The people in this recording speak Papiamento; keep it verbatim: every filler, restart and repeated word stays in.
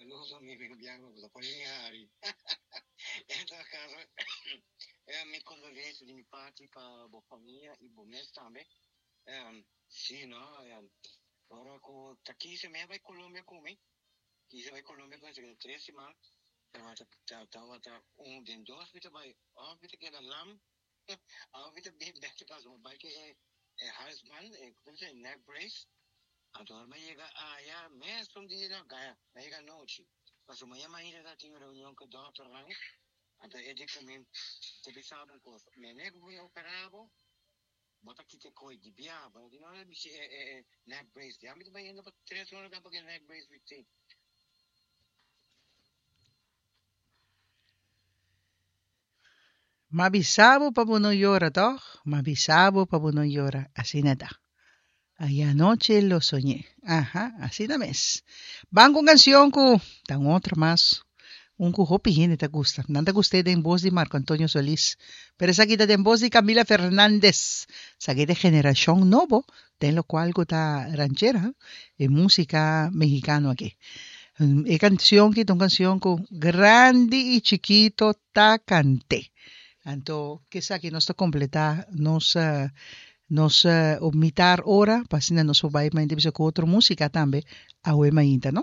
Saludos, mi amigo Bianco, bo ta pone mi hari. En todo caso, eh, mi condolencia di mi parti pa bo famia y bo mes tambe. Um, sí, no, um, ora cu ta kise mi a bay Colombia cu mi, kise bay Colombia cu mi, tres siman, tabata tabata un den dos mi ta bay, of mi ta keda lam, of mi ta bin bek te paso, mi bay cu e e halsband, e, como se dice, neck brace. Anto ora mi a yega aya, mesun dia no gaya, mi a yega anochi. Pasobra maña mainta ta tin reunion ku dòkternan, anto e di ku mi, Te bisa bo un kos, mene ku bo a operá bo, bo ta kita e koi di bia, bo no tin nada di bisti e e neck brace. Ya mi ta bayendo pa tres luna kaba ku e neck brace bisti. M'a bisa bo pa bo no yora, tòg? M'a bisa bo pa bo no yora. Asina ta. Ayer anoche lo soñé. Aha, asina mes. Ban ku un kansion ku ta un otro mas. Un ku hopi hende ta gusta. Nan ta gust'é den bos di Marco Antonio Solís. Pero esaki ta den bos di Camila Fernández. Esaki ta e generashon nobo den lokual ku ta ranchera, e músika mexicano aki. E canción ki ta un canción cu grandi y chikito ta cant'é. Anto k'esaki nos ta completa nos nos op mitar ora pa asina nos por bay mainta bisa cu otro musica tambe awe mainta no.